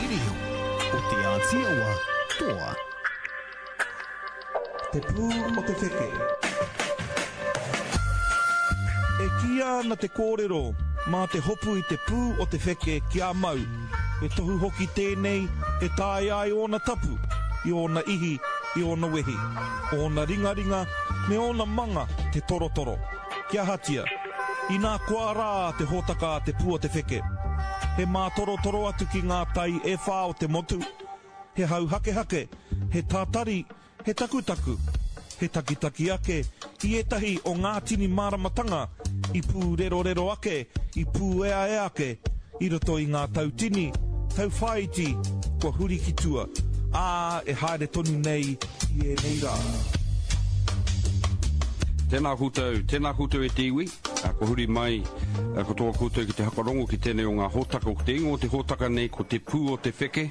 Reo o Te Āti Awa Toa. Te pū o te wheke. E kīia ana te kōrero mā te hopu i te pū o te wheke kia mau, he tohu hoki tēnei e taea ai ōna tapu, i ōna ihi, i ōna wehi, ōna ringaringa me ōna manga te torotoro. Kia ahatia? Inā koa rā te hōtaka a Te Pū o te Wheke. He mātorotoro atu ki ngā tai e whā o te motu, he hauhakehake, he tātari, he takutaku, he takitaki ake i ētahi o ngā tini māramatanga i pūrerorero ake, i pūeaea ake i roto i ngā tau tini, tau whāiti kua huri ki tua, ā, e haere tonu nei i ēnei rā. Tēnā koutou, tēnā koutou e te iwi, kua huri mai katoa koutou ki te hakarongo ki tēnei o ngā hōtaka, ko te ingoa o te hōtaka nei ko Te Pū o Te Wheke,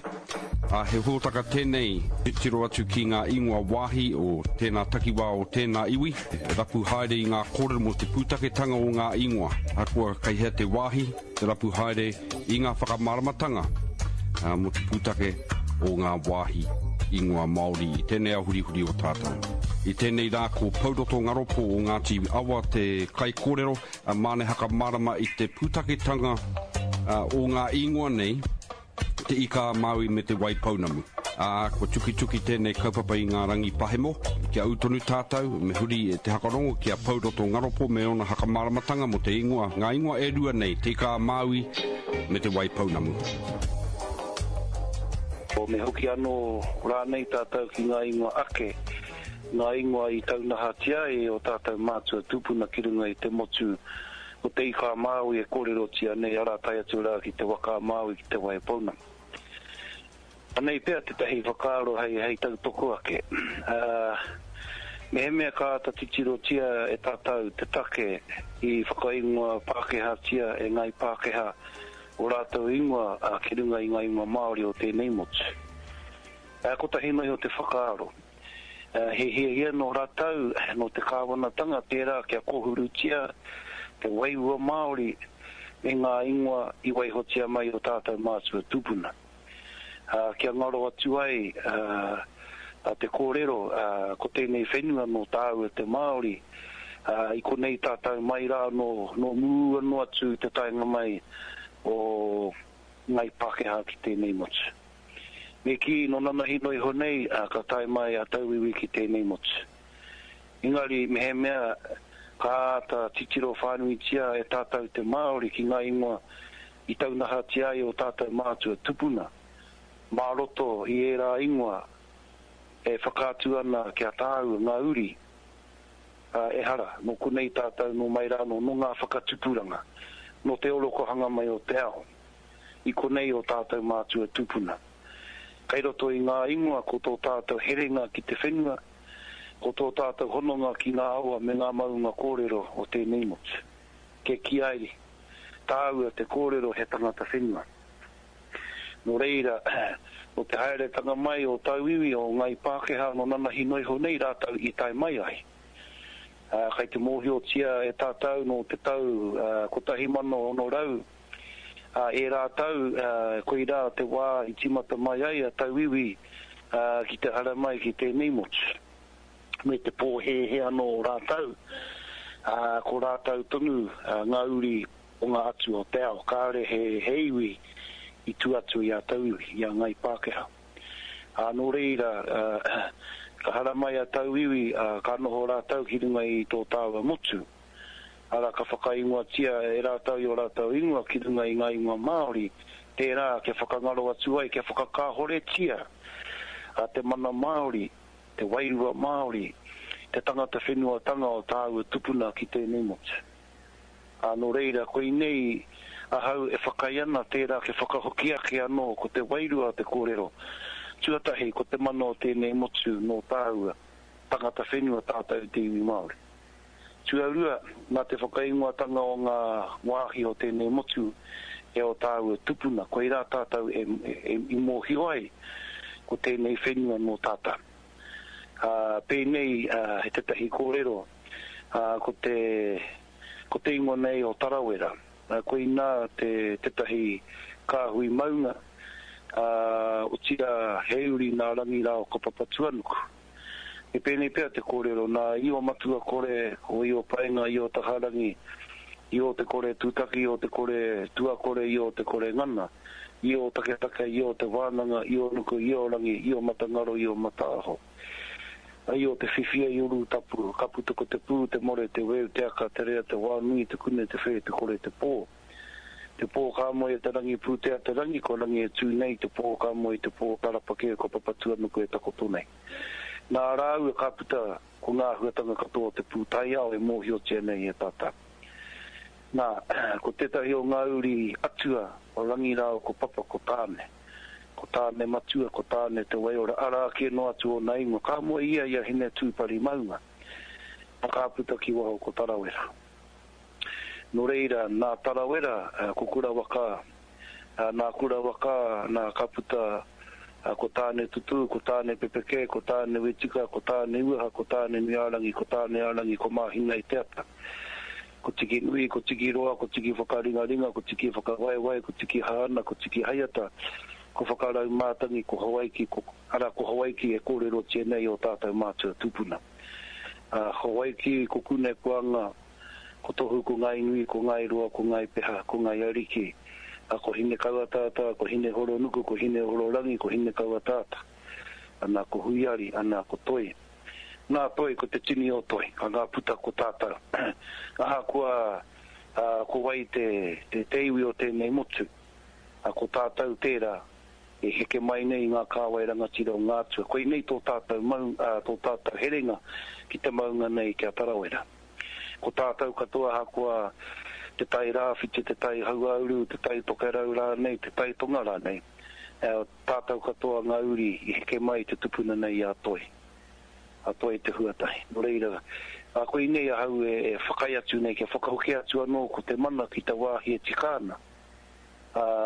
ā, he hōtaka tēnei tiro atu ki ngā ingoa wāhi o tēnā takiwā o tēnā iwi, rapu haere i ngā kōrero mō te pūtaketanga o ngā ingoa, ahakoa kei hea te wāhi, te rapu haere i ngā whakamāramatanga mō te pūtake o ngā wāhi ingoa Māori i tēnei ao hurihuri o tātou. I tēnei rā ko Pouroto Ngaropo o Ngāti Awa te kaikōrero, māne hakamārama i te pūtaketanga o ngā ingoa nei, Te Ika a Māui me Te Wai Pounamu. Ā, kua tukituki tēnei kaupapa i ngā rangi pahemo. Kia ū tonu tātou, me huri te hakarongo ki a Pouroto Ngaropo me ōna hakamāramatanga mō te ingoa, ngā ingoa e rua nei, Te Ika a Māui me Te Wai Pounamu. Me hoki anō rānei tātou ki ngā ingoa ake, ngā ingoa i taunahatia ai e ō tātou mātua tūpuna ki runga i te motu Ko Te Ika a Māui e kōrerotia nei, arā tae atu rā ki Te Waka a Māui ki Te Waipounamu. Anei pea tētahi whakaaro hei, hei tautoko ake. Ā, mehemea ka āta titirotia e tātou te take i whakaingoa Pākehātia e Ngāi Pākehā ō rātou ingoa ki runga i ngā ingoa Māori o tēnei motu. Ā, kotahi noa iho te whakaaro. He hiahia nō rātou, nō te kāwanatanga tērā kia kōhurutia te wairua Māori me ngā ingoa i waihotia mai o tātou mātua tūpuna. Kia ngaro atu ai te kōrero ko tēnei whenua nō tāua te Māori, i konei tātou mai rā nō mua noa atu i te taenga mai o Ngāi Pākehā ki tēnei motu. Me kī, nō nanahi noa iho nei, ā, ka tae mai a tauiwi ki tēnei motu. Engari, mehemea ka āta titiro whānuitia e tātou te Māori ki ngā ingoa i taunahatia ai ō tātou mātua tupuna, mā roto i ērā ingoa e whakaatu ana ki a tāua ngā uri, ā, ehara, nō konei tātou nō mai rānō, nō ngā whakatupuranga, nō te orokohanga mai o te ao. I konei ō tātou mātua tūpuna. Kei roto i ngā ingoa ko tō tātou herenga ki te whenua, ko tō tātou hononga ki ngā awa me ngā maunga kōrero o tēnei motu. Ke kī ai tāua te kōrero he tangata whenua. Nō reira, nō te haeretanga mai o tauiwi, o Ngāi Pākehā nō nanahi noa iho nei rātou i tae mai ai. Kei te mōhiotia e tātou nō te tau 1600, Ā, ērā tau, koirā te wā i tīmata mai ai a tauiwi ki te haramai ki tēnei motu. Me te pōhēhē anō o rātou, ā, ko rātou tonu ngā uri o ngā atua o te ao, kāore he iwi i tua atu i a tauiwi, i a Ngāi Pākehā. Ā, nō reira, ka haramai a tauiwi, ā, ka noho rātou ki runga i tō tāua motu. arā, ka whakaingoatia e rātou i ō rātou ingoa ki runga i ngā ingoa Māori, tērā kia whakangaro atu ai, kia whakakāhoretia te mana Māori, te wairua Māori, te tangata whenuatanga o tāua tupuna ki tēnei motu. Ā, nō reira, koinei ahau e whakaae ana tērā kia whakahoki ake anō ko te wairua o te kōrero. Tuatahi, ko te mana o tēnei motu nō tāua, tangata whenua tātou te iwi Māori. Tuarua, nā te whakaingoatanga o ngā wāhi o tēnei motu e ō tāua tupuna, koirā tātou e, e, i mōhio ai ko tēnei whenua nō tātou. Ā, pēnei ā, he tētahi kōrero, ā, ko te, ko te ingoa nei o Tarawera, ā, koinā te, tētahi kāhui maunga, Ā, otirā, he uri nā Rangi rāua ko Papatuanuku. Me pēnei pea te kōrero, nā Io Matua Kore, ko Io Paenga, Io Taharangi, Io Te Kore Tūtaki, Io Te Kore Tuakore, Io Te Kore Ngana, Io Taketake, Io Te Wānanga, Io Nuku, Io Rangi, Io Matangaro, Io Mataaho. Io Te Whiwhia i Urutapu, ka puta ko te pū, te more, te weu, te aka, te rea, te wānui, te kune, te whē, te kore, te pō. Te pō ka moe e te rangi pūtea te rangi, ko Rangi e tū nei, te pō ka moe te pō tarapa kē ko Papatuanuku e takoto nei. Nā rāua ka puta ko ngā āhuatanga katoa o te pūtaiao e mōhiotia nei e tātou. Nā, ko tētahi o ngā uri atua o Rangi rāua ko Papa ko Tāne. Ko Tāne Matua, ko Tāne Te Waiora, arā kē noa atu ōna ingoa. Ka moe ia i a Hinetūpari maunga, ka puta ki waho ko Tarawera. Nō reira, nā Tarawera, ko Kurawaka, nā Kurawaka, nā ka puta ko Tāne-tutū, ko Tāne-pepeke, ko Tāne-wetika, ko Tāne-uaha, ko Tāne-nui-ā-rangi, ko Tāne-ā-rangi, ko Māhina-i-te-ata. Ko Tikinui, ko Tikiroa, ko Tikiwhakaringaringa, ko Tikiwhakawaewae, ko Tikihaana, ko Tikihaiata, ko Whakaraumātangi, ko Hawaiki, ko, arā, ko Hawaiki e kōrerotia nei ō tātou mātua tūpuna. Hawaiki, ko Kunepuanga, Ko Tohu, ko Ngāi Nui, ko Ngāi Roa, ko Ngāi Peha, ko Ngāi Ariki, a ko Hinekauataata, ko Hinehoronuku, ko Hinehororangi, ko Hinekauataata, ana ko Huiari, ana ko Toi. Nā Toi, ko te tini o Toi, ka ngā puta ko tātou. Ahakoa ko wai te, te, te iwi o tēnei motu, ko tātou tērā e heke mai nei i ngā kāwai rangatira o ngā atua. Koinei tō tātou mau, tō tātou herenga ki te maunga nei ki a Tarawera. Ko tātou katoa ahakoa te tai rāwhiti, te tai hauāuru, te tai tokerau rānei, te tai tonga rānei, tātou katoa ngā uri i heke mai te tupuna nei i a Toi, a Toi te Huatahi. Nō reira, koinei ahau e whakaae atu nei kia whakahoki atu anō ko te mana ki te wāhi e tika ana,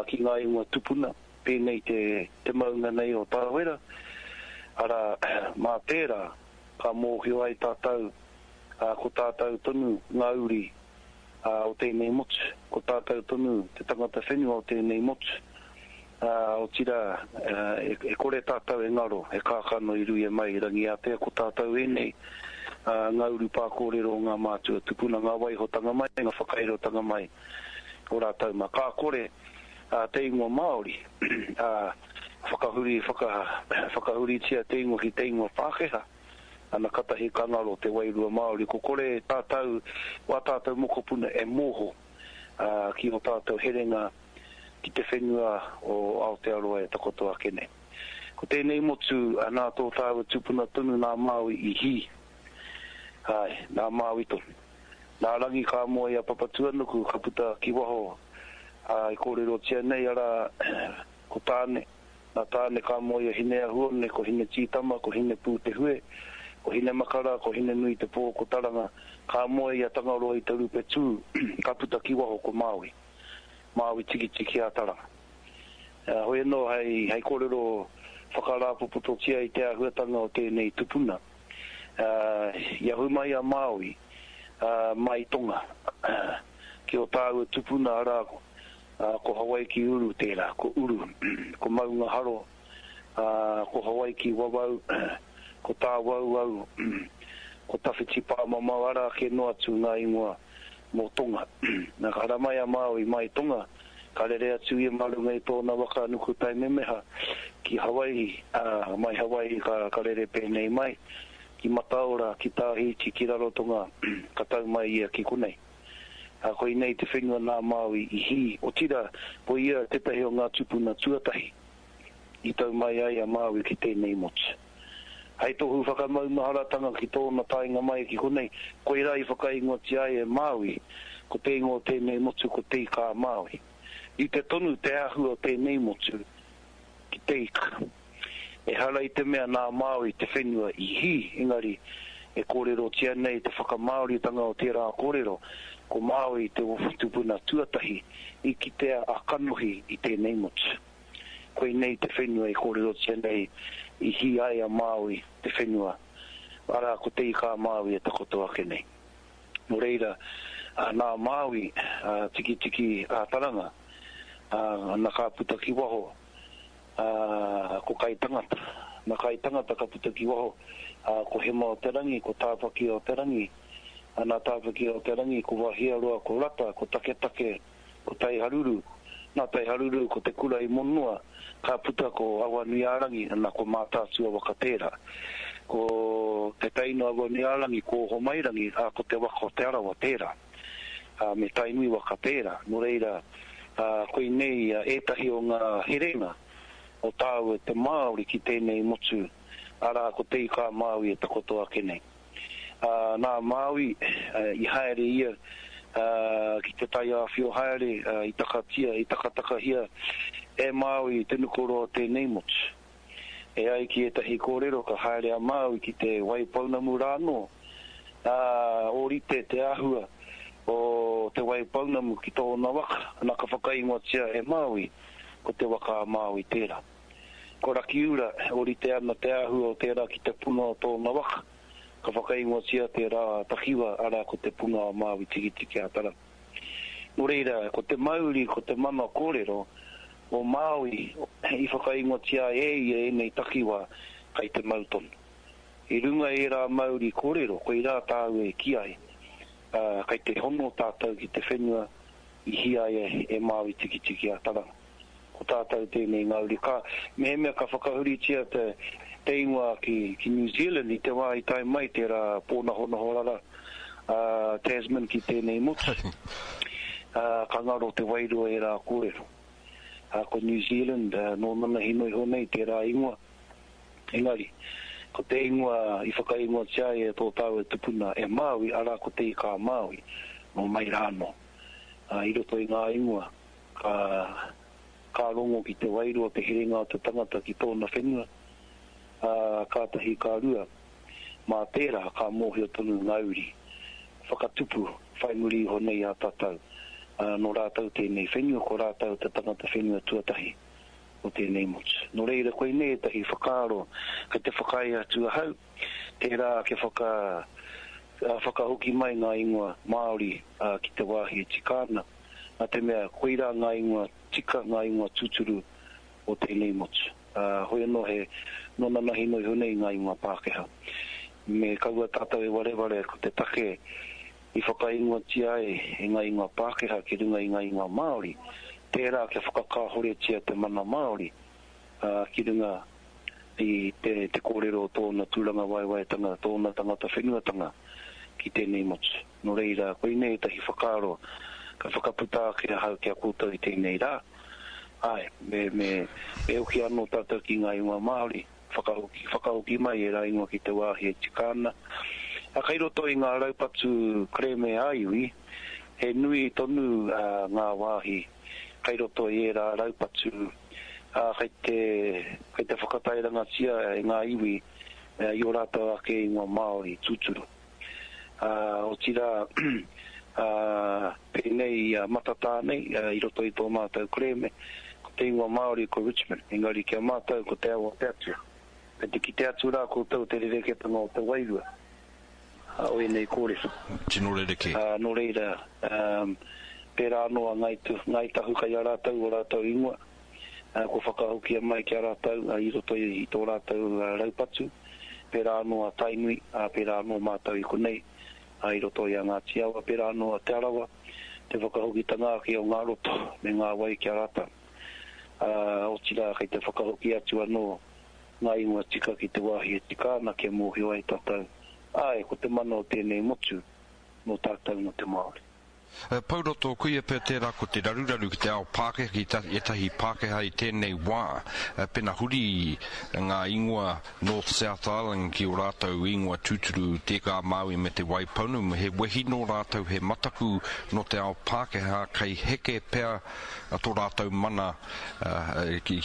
ki ngā ingoa tupuna, pēnei te, te maunga nei o Tarawera, arā, mā tērā ka mōhio ai tātou ā, ko tātou tonu ngā uri o tēnei motu, ko tātou tonu te tangata whenua o tēnei motu, ā, otirā, e kore tātou e ngaro, he kākano i ruia mai i Rangiātea, ko tātou ēnei, ā, ngā urupā kōrero o ngā mātua tupuna, ngā waihotanga mai, ngā whakairotanga mai o rātou mā. Ka kore, ā, te ingoa Māori, ā, whakahuri, whaka, whakahuritia te ingoa ki te ingoa Pākehā. Ana katahi ka ngaro te wairua Māori, ko kore tātou, wā tātou mokopuna e mōho ki ō tātou herenga ki te whenua o Aotearoa e takoto ake nei. Ko tēnei motu nā tō tāua tupuna tonu nā Māui i hī. Āe, nā Māui tonu. Nā Rangi ka moe i a Papatuanuku ka puta ki waho, ā, i kōrerotia nei arā, ko Tāne, Nā Tāne ka moe a Hineahuone, ko Hinetītama, ko Hinepūtehue, ko Hinemakara, ko Hinenuitepō, ko Taranga, ka moe i a Tangaroa i te rupe tū, ka puta ki waho ko Māui. Māui tikitiki a Taranga. Hoi anō hei, hei kōrero whakarāpopototia i te āhuatanga o tēnei tupuna. I ahu mai a Māui mai Tonga ki ō tāua tupuna arā Ā, ko Hawaiki Uru tērā, ko Uru, ko Maungaharo, ā, ko Hawaiki Wawau, ko Tāwauau, ko Tawhiti Pāmamao, arā kē noa atu ngā ingoa mō Tonga. Nā, ka haramai a Māui mai Tonga, ka rere atu ia mā runga i tōna waka Nukutaimemeha ki Hawai'i, ā, mai Hawai'i ka, ka rere pēnei mai, ki Mataora, ki Tāhiti, ki Rarotonga, ka tau mai ia ki konei. Ā, koinei te whenua nā Māui i hī, otirā, ko ia tētahi o ngā tūpuna tuatahi i tau mai ai a Māui ki tēnei motu. Hei tohu whakamaumaharatanga ki tōna taenga mai ki konei, koirā i whakaingoatia ai e Māui, ko te ingoa o tēnei motu ko Te Ika-a-Māui. Rite tonu te āhua o tēnei motu ki te ika. Ehara i te mea nā Māui te whenua i hī, engari e kōrerotia nei te whakamāoritanga o tērā kōrero, ko Māui te tupuna tuatahi i kitea a kanohi i tēnei motu. Koinei te whenua i kōrerotia nei i hī ai a Māui te whenua, arā ko Te Ika-a-Māui e takoto ake nei. Nō reira, nā Māui a Tikitiki a Taranga, na ka puta ki waho. Ā, ko Kaitangata. Nā Kaitangata ka puta ki waho, ā, ko Hema-o-te-rangi, ko Tāwhaki-o-te-rangi. Ā, nā Tāwhaki-o-te-rangi, ko Wahiaroa, ko Rata, ko Taketake, ko Taiharuru. Nā Taiharuru, ko Te Kura-i-monoa, ka puta ko Awanui-ā-rangi, nā, ko Mātaatua waka tērā. Ko te teina o Awanui-ā-rangi, ko Ohomairangi, ā, ko te waka o Te Arawa tērā. Ā, me Tainui waka tērā. Nō reira, ā, koinei ētahi o ngā herenga o tāua te Māori ki tēnei motu, arā, ko Te Ika-a-Māui e takoto ake nei. Ā, nā Māui, i haere ia, ā, ki te taiāwhio haere, ā, i takatia, i takatakahia e Māui te nukuroa o tēnei motu. E ai ki ētahi kōrero ka haere a Māui ki Te Waipounamu rānō, ā, ōrite te āhua o Te Waipounamu ki tōna waka, ana ka whakaingoatia e Māui ko Te Waka a Māui tērā. Ko Rakiura, ōrite ana te āhua o tērā ki te punga o tōna waka, ka whakaingoatia tērā takiwā, arā ko Te Punga o Māui Tikitiki-a-Taranga. Nō reira, ko te mauri, ko te mana kōrero, o Māui i whakaingoatia ai e ia ēnei takiwā kei te mau tonu. I runga i ērā mauri kōrero, koirā tāu e kī ai, ā, kei te hono tātou ki te whenua i hīaia e Māui Tikitiki-a-Taranga. Ko tātou tēnei ngā uri. Ka, mehemea ka whakahuritia te, te ingoa ki, ki New Zealand i te wā i tae mai tērā pōnahonaho rara a Tasman ki tēnei motu, ā, ka ngaro te wairua ērā kōrero. Ā, ko New Zealand, nō nanahi noa iho nei tērā ingoa. Engari, ko te ingoa i whakaingoatia ai e tō tāua tupuna e Māui, arā ko Te Ika-a-Māui, nō mai rā anō. Ā, i roto i ngā ingoa, ka, ka rongo ki te wairua te herenga o te tangata ki tōna whenua, ā, kātahi ka rua, mā tērā ka mōhio tonu ngā uri whakatupu whai muri iho nei a tātou, ā, nō rātou tēnei whenua, ko rātou te tangata whenua tuatahi o tēnei motu. Nō reira, koinei ētahi whakaaro kei te whakaae atu ahau, tērā kia whaka, whakahoki mai ngā ingoa Māori ki te wāhi e tika ana, nā te mea koirā ngā ingoa tika, ngā ingoa tūturu o tēnei motu. Ā, hoi anō he nō nanahi noa iho nei ngā ingoa Pākehā. Me kaua tātou e wareware ko te take i whakaingoatia ai e ngā ingoa Pākehā ki runga i ngā ingoa Māori, tērā kia whakakāhoretia te mana Māori, ā, ki runga i te, te kōrero o tōna tūrangawaewaetanga, tōna tangata whenuatanga ki tēnei motu. Nō reira, koinei ētahi whakaaro ka whakaputa ake ahau ki a koutou i tēnei rā. Āe, me, me, me hoki anō tātou ki ngā ingoa Māori, whakahoki, whakahoki mai ērā ingoa ki te wāhi e tika ana. Ā, kei roto i ngā raupatu kerēme ā-iwi, he nui tonu ngā wāhi kei roto i ērā raupatu, ā, kei te, kei te whakatairangatia e ngā iwi i ō rātou ake ingoa Māori tūturu. Ā, otirā, ā, pēnei i a Matatā nei, i roto i tō mātou kerēme, ko te ingoa Māori ko Richmond, engari ki a mātou ko Te Awa o te Atua. Kei te kite atu rā koutou te rerekētanga o te wairua o ēnei kōrero. Tino rerekē. Ā, nō reira, ā, pērā anō a Ngāi, Ngāi Tahu kei a rātou ō rātou ingoa. Kua whakahokia mai ki a rātou i roto i tō rātou raupatu, pērā anō a Tainui, ā, pērā anō mātou i konei, ā, i roto i a Ngāti Awa, pērā anō a Te Arawa, te whakahokitanga ake o ngā roto me ngā wai ki a rātou. Ā, otirā kei te whakahoki atu anō ngā ingoa tika ki te wāhi e tika ana kia mōhio ai tātou, āe, ko te mana o tēnei motu nō tātou nō te Māori. Pouroto, koia pea tērā ko te raruraru ki te ao Pākehā, ki ētahi Pākehā i tēnei wā, pena huri ngā ingoa North South Island ki ō rātou ingoa tūturu Te Ika a Māui me Te Waipounamu, he wehi nō rātou, he mataku nō te ao Pākehā kei heke pea tō rātou mana ki.